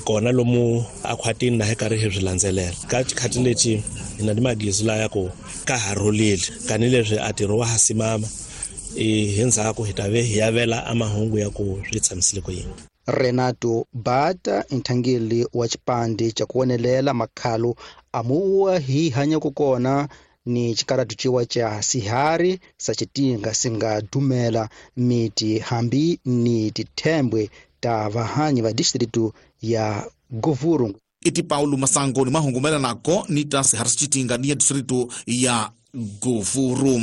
Kona lomu akhwatini na hi karhi hi swi landzelela. Ka xikhati lexi hi na ni magizu laya ku ka ha rhulile tanihileswi a ntirho wa ha simama hi ndzhaku hi ta ve hi yavela a mahungu ya ku swi tshamisile ku yini. Renato Bata nthangeli wa xipandi xa ku wonelela makhalo amuwa hi hanyaka kona ni xikaratu ciwa xa sihari sa xitinga singa dumela miti hambi ni tithembwe ta vahanyi va distritu ya Govuru. Iti Paulo Masango ni mahungu mayelanako ni ta sihari sa xitinga ni ya distritu ya Govuru.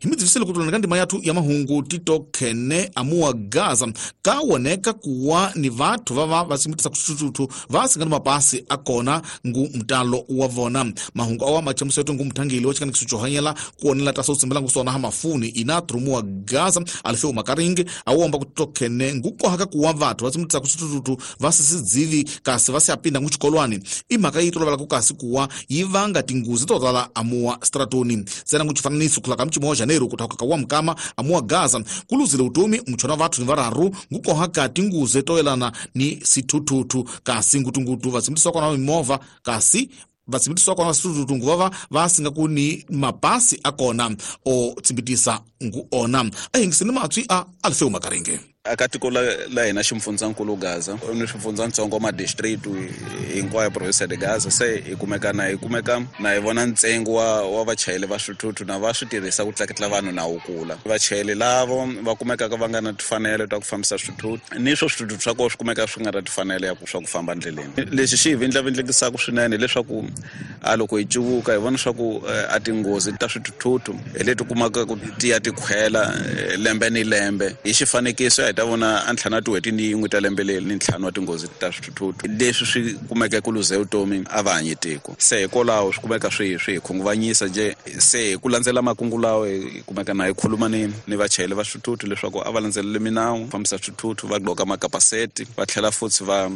Himidzivisele kutulana ka ndima yathu ya mahungu titokhene amuwa Gaza kawoneka kuwa ni vathu vava vasimitisa kuxuxuxu va singa ni mapasi akona ngu mtalo wa vona. Mahungu awa machamuso yetu ngu mthangeli wa xikanikiso xo hanyela kuonela ta swo tsimbela ngu swona ha mafuni ina trumuwa Gaza alifeu makaringi awomba kutitokhene ngu kohaka kuwa vathu vasimitisa kuxuxuxu va sisidzivi kasi va siapinda ngu xikolwani imhaka yi tolovela ku kasi kuwa yi vanga tinguzi to tala amuwa stratoni. Tsena ngu xifananiso ku hlaka mchimo wa Janeiro kutaka ka wa mkama amuwa Gaza kuluzile utomi mchona vathu ni vararu ngukohaka tinguze toyelana ni sithuthuthu kasi ngutungutu vasimutiswa kona mimovha kasi vasimutiswa kona sithuthuthu nguvava vasinga ku ni mapasi akona o tsimbitisa ngu ona ahingiseni matswi a alifeu makaringe. Aka tiko la hina ximfundzankulu Gaza ni swifundzatsongo ma district hinkwayo province de Gaza se hi kumeka na hi vona ntsengo wa vachayeri va swithuthuthu na va swi tirhisa ku tlaketla vanhu na wu kula. Vachayeri lavo va kumekaka va nga na timfanelo ta ku fambisa swithuthuthu ni swo swithuthuthu swa kona swi kumeka swi nga na timfanelo ya swa ku famba ndleleni. Lexi xi hi vindlavindlekisaka swinene hileswaku a loko hi cuvuka hi vona swa ku a tinghozi ta swithuthuthu hi leti kumaka ku ti ya ti khwela lembe ni lembe. Hi xifanekiso hi ta vona a ntlhanu tin'hweti ni yin'we ta lembe leri ni ntlhanu wa tinghozi ta swithuthuthu leswi swi kumeka ku luze vutomi a va hanyi tiko. Se hikwalaho swi kumeka swi hi khunguvanyisa je se hi ku landzela makungu lawa hi kumeka na hi khuluma ni vachayeri va swithuthuthu leswaku a va landzeleli minawu fambisa swithuthuthu va gqoka makapaseti va tlhela futhi va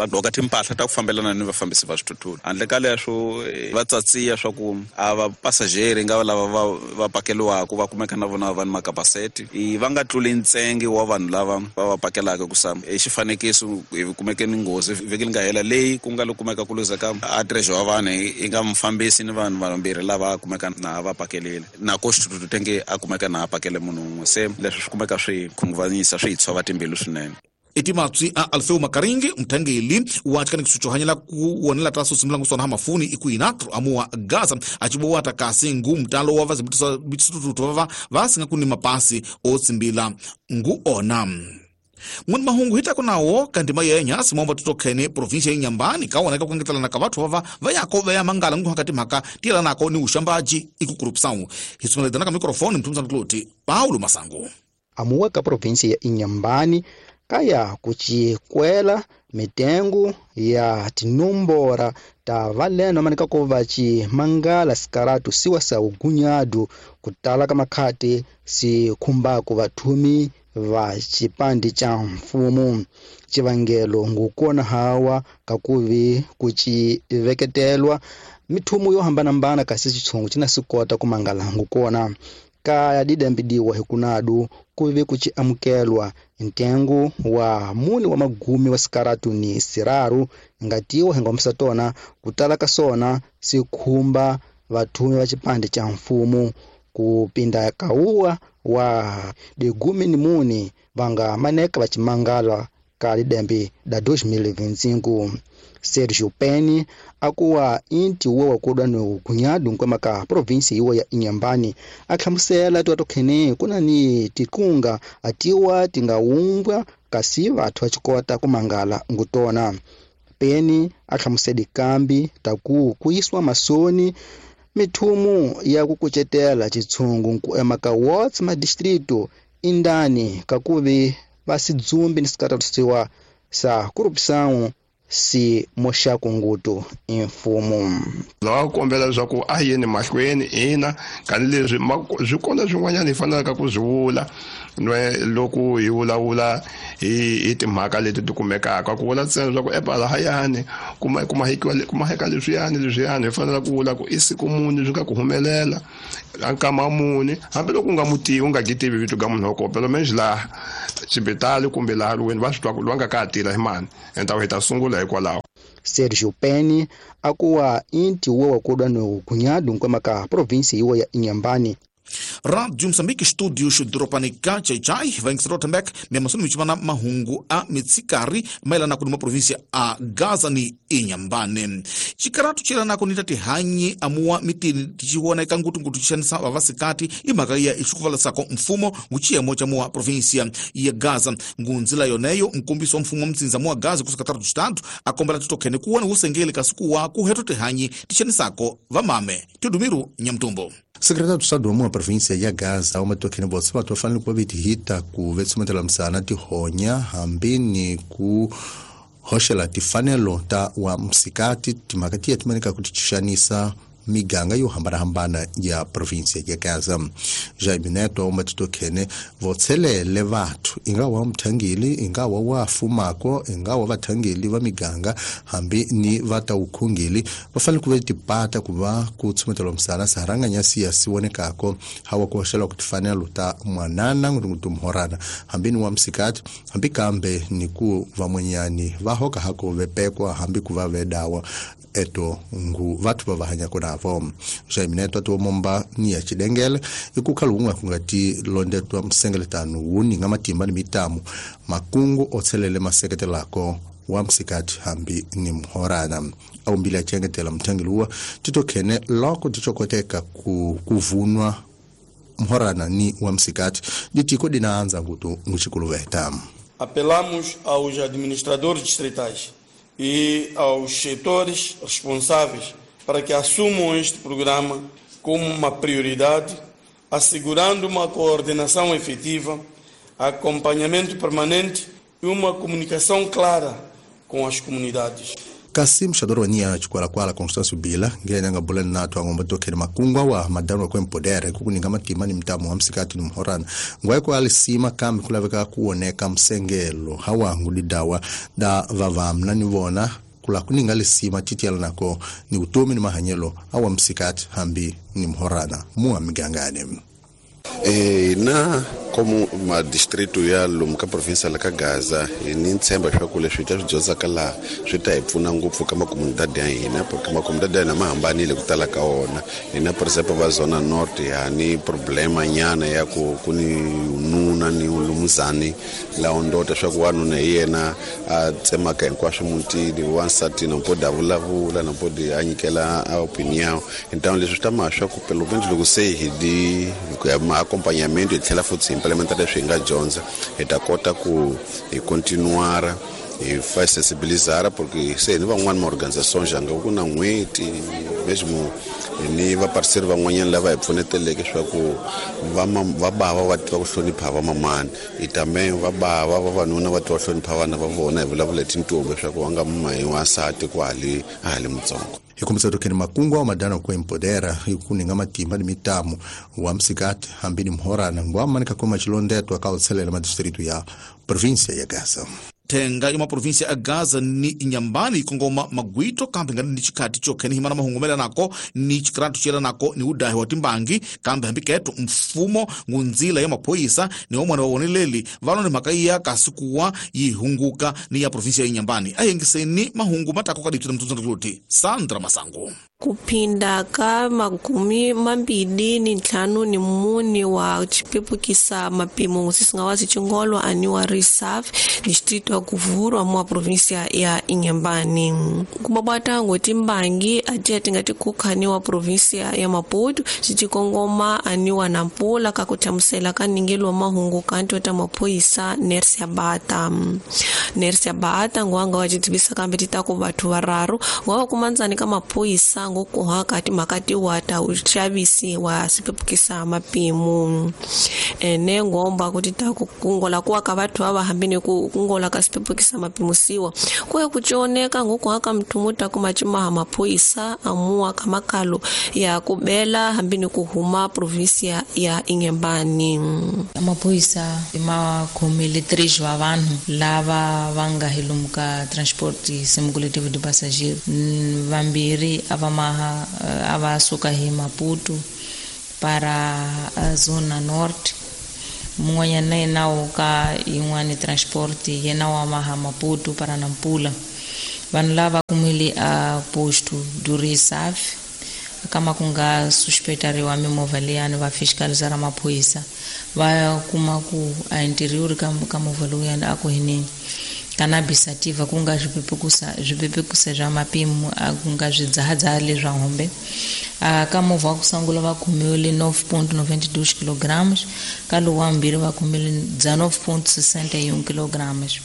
gqoka timpahla ta ku fambelana ni vafambisi va swithuthuthu. Handle ka leswo va tsatsiya swa ku a va pasajeri nga lava va pakeliwaka va kumeka na vona va ni makapaseti va nga tluli ntsengo wa vanhu lava va pakelaka ku sa hi xifanekiso hi kumeke ni nghozi vhiki li nga hela leyi ku nga lo kumeka ku luzeka a treasure wa vanhu i nga mufambisi ni vanhu vambirhi lava kumeka na va pakelile na ko xithuthuthu tenge a kumeka na a pakele munhu un'we. Se leswi swi kumeka swi khunguvanyisa swi hi tshova timbilu swinene. Iti matswi a Alfeu Makaringi mthangeli wa xikanikiso xo hanyela ku wonela ta swo simula swona ha mafuni iku inatro amuwa Gaza achibowa ta kasi ngu mtalo wa vazibitisa bitsitutu vava va singa ku ni mapasi o tsimbila ngu ona. N'wini mahungu hi tako nawo kandima yenya simomba tutokhene provinsia ya Inhambane kawoneka ku engetelana ka vathu vava va yako va ya mangala ngu hakati mhaka tiyelanako ni uxambaji iku corrupção. Hi sungula ka microphone mthumzana Kloti Paulo Masango. Amuwa ka provinsia ya Inhambane kaya kuchikwela mitengo ya tinombora ta valeno manika ko vachi mangala sikaratu siwa sa ugunyadu kutala ka makhati si khumbaku vathumi va xipandi xa mfumo. Xivangelo ngukona hawa kakuvi kuchiveketelwa mithumu yo hambanahambana kasi xitshungu xi na swi kota ku mangala ngukona. Kaya didambidiwa hikunadu kuve kuchi amukelwa ntengo wa muni wa magumi wa sikaratu ni siraru ngatiwa hingomisa tona kutala ka sona sikhumba vathumi va xipandi xa mfumo kupinda kauwa wa digumi ni muni vanga maneka va ximangala ka lidembe da 2025. Sergio Penny akuwa inti wo wa kudwa ni ugunyadu nkwema ka provinsi iwo ya Inhambane a hlamusela tiwa tokhene kuna ni tikunga atiwa tingawumbwa kasi vathu va xikota ku mangala ngutona. Penny a hlamusela kambi taku kuyiswa masoni mithumu ya ku kucetela xitshungu ku ema ka wards ma distrito indani kakuvi va sidzumbi ni sikaratusiwa sa corrupção si moxaku ngutu imfumo. Lawa kombela leswaku a yeni mahlweni ina kani leswi swi kona swin'wanyana hi fanelaka ku swi vula loko hi vulavula hi timhaka leti ti kumekaka ku vula ntsena leswaku epalahayani kumaheka leswiyani hi fanela ku vula ku i siku muni swi nga ku humelela a nkama muni hambiloko u nga mutivi u nga gitivi vito ka munhu wa kona pelo menje laha xibitali kumbe laha lweni va swi twa ku loyi a nga ka ha tirha hi mani enta hi ta sungula hikwalaho. Sergio Penny akuwa inti wo wakodwa no kunyadu nkwema ka provinsi iwo ya Inhambane. Rádio Moçambique, estúdios Dropanica, Chai, vem que Rotenbeck, mesmo michimana mahungu a mitsikari, mailana kuduma província a Gaza ni Inhambane. Chikaratu chilana kunita tihanyi amua mitini tichiwona ikangutu ngutu chishanisa vavasikati imakaya ishukuvala sako mfumo nguchiyemo cha mua província ya Gaza. Ngunzila yoneyo mkumbiso mfumo mtsinza mua Gaza kusakatatu chitatu akombela tutokene kuwana usengeli kasukuwa kuheto tihanyi tishanisako vamame. Tudumiru Nyamtumbo. Secretário do Estado wa província ya Gaza umatokene botse batho ba fanele ku va ku vetsumetela msana tihonya hambi ni ku hoxela tifanelo ta wa msikati timhaka tiya timanika ku tixanisa miganga yo hambanahambana ya província ya Gaza. Jaime Neto umatokene votshelele vathu ingawa mthangeli ingawa wa fumako ingawa vathangeli va miganga hambi ni vata ukhungeli va fanele ku va tipata ku va ku tshumetela msana saharanganya siya siwonekako hawa ku hoxela ku tifanelo ta mwanana ngutunguthu mhorana hambi ni wa msikati hambi kambe ni ku vamwenyani va hoka hako vepekwa hambi ku va vedawa eto ngu vathu va va hanyako navo. Jaime Neto ati momba ni ya chidengele ikukhala unga kungati londetwa msengeletano wuni nga matimba ni mitamu makungu otselele maseketelako wa msikati hambi ni mhorana aumbile achengetela mthangiluwa titokhene loko tichokoteka kuvunwa mhorana ni wa msikati ditiko dinaanza ngutu nguchikuluveta. Apelamos aos administradores distritais e aos setores responsáveis para que assumam este programa como uma prioridade, assegurando uma coordenação efetiva, acompanhamento permanente e uma comunicação clara com as comunidades. Kasi mxadoro wa nia chikwalakwala Constâncio Bila ngene nga bulani nato angomba tokhele makungwa wa madano kwa empodere kukuninga matima ni mtamu wa msikati ni mhorana ngwaiko alisima kambi kulaveka kuoneka msengelo hawa ngudidawa da vavamna ni vona kula kuninga lisima titiala nako ni utomi ni mahanyelo awa msikati hambi ni mhorana mua migangane. Na como ma distrito ya lomu ka província la ka Gaza ni ntshemba leswaku leswi hi ta swi dyondzaka laha swi ta hi pfuna ngopfu ka makomunidade ya hina porque makomunidade ya hina ma hambanile ku tala ka wona. Hina por exemplo va zona norte ha ni problema nyana ya ku ku ni nuna ni lumuzani laha ndota swa ku wanuna hi yena a tsemaka hinkwaswo mutini wansati na mpodi a vulavula na mpodi a nyikela a opinion. Então leswi swi ta ma swa ku pelo menos loko se hi di ku ya ma acompanhamento hi tlhela futhi implementar leswi hi nga dyondza hi ta kota ku hi continuar hi fa sensibilizar porque se ni van'wani ma organization janga ku na n'hweti mesmo ni va parceiro van'wanyana lava hi pfuneteleke swa ku va bava va tiva ku hlonipha vamamani i também va bava vavanuna va tiva hlonipha vana va vona hi vulavula hi tintombi swa ku va nga mahi wansati ku hali a hali mutsongo. Hikumisa tokeni makungu wa madano kwa empodera ikuninga matimba ni mitamu wa msikati hambi ni mhorana ngwa manika kwa machilondeto akautselela madistritu ya província ya Gaza. Tenga ya maprovíncia ya Gaza ni Inhambane ikongoma magwito kambe ngani ni chikati chokhene himana mahungumela nako ni chikratu chela nako ni udahi wa timbangi kambe hambiketo mfumo ngunzila ya maphoyisa ni omwana wa woneleli valo ni makaiya kasikuwa yihunguka ni ya província ya Inhambane ayengiseni mahungu matako kadithu mtunzanduti Sandra Masango. Kuphinda ka 25 ni mune wa chipepukisa mapimo sisingawazi chingolo aniwa reserve distrito ya Kuvurwa mwa província ya Inhambane. Kumabata ngotimbangi atiya tingati kukhaniwa província ya Maputo chichikongoma aniwa Nampula kakuthamusela kaningelo mahungu kanto ta maphoyisa Nersia Bata. Nersia Bata ngwanga wachitibisa kambe titako bathu vararu ngwa kumanzani ka maphoyisa ngokuhaka timakati wata uxavisi wa sipepukisa mapimo ene ngomba kuti takungola kuwa ka vathu ava hambini ku kungola ka sipepukisa mapimo siwa kuya kuchioneka ngokuhaka mthumuta kumachimaha maphoyisa amuwa kamakalo ya kubela hambini kuhuma província ya Inhambane. Maphoyisa makhomile 3 wa vanhu lava va nga hi lomu ka transport simulativo de passageiro vambirhi ava ava suka hi Maputo para a zona norte mun'wanyana yena wo ka yin'wani transport yena wa maha Maputo para Nampula. Vanhu lava kumile khomile a posto do Risaf kama ku nga suspeitariwa mimovha liyani va fiscalizar maphorisa va kuma ku a interior ka movha lowuyani a ku hineni cannabis sativa ku nga swipepekusa swa mapimo a ku nga swidzahadzaha leswa hombe. Ka movha wa ku sungula va khomiwile 9.92 kilograms, ka lowu wa vumbirhi va khomile 19.61 kilograms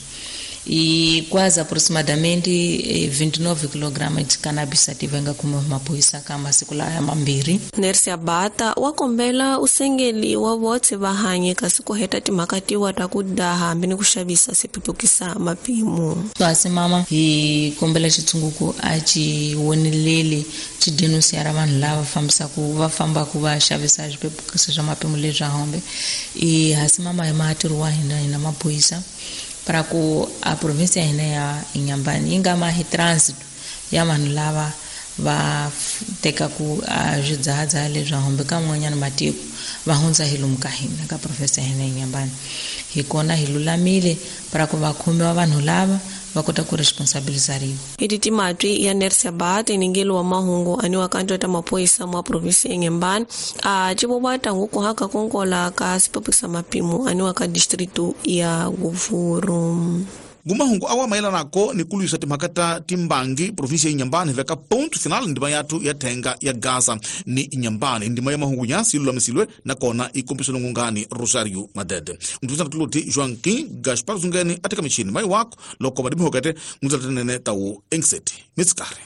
e quase aproximadamente 29 kg de cannabis sativa nga khomiwa hi maphorisa ka masiku laya mambirhi. Nercia Bata wa kombela usengeli wa votse va hanye kasi ku heta timhaka tiwa ta ku daha hambi ni ku xavisa swipepukisa mapimo. Kasi mama hi kombela xitshunguku a xi woneleli xi denunciara vanhu lava fambisaka va fambaka va xavisa swipepukisa swa mapimo leswa hombe. E hasi mama hi matirho wa hina hina maphorisa para ku a província ya hina ya Inhambane yi nga ma hi trânsito ya vanhu lava va tekaku a swidzahadzaha leswa hombe ka man'wanyana matiko va hundza hi lomu ka hina ka província ya hina ya Inhambane. Hi kona hi lulamile para ku va khomiwa vanhu lava va kota ku responsabilizariwa. Iti timatwi ya Nercia Bata iningelo wa mahungu aniwa kanto ta maphorisa mwa província ya Inhambane a civovata nguku haka konkola ka sipepukisa mapimo aniwa ka distrito ya Govuro. Ngumahungu awa mayelanako ni kulwisa timhaka ta timbangi província ya Inhambane veka ponto final ndima yathu ya thenga ya Gaza ni Inhambane. Ndima ya mahungu nyasi ilulamisilwe nakona ikompiswe ngungani Rosario Madede. Mtuza tuloti Joaquim Gaspar Zungeni ateka michini mai wako loko madimhokete mutsatenene tawu engseti mitsikare.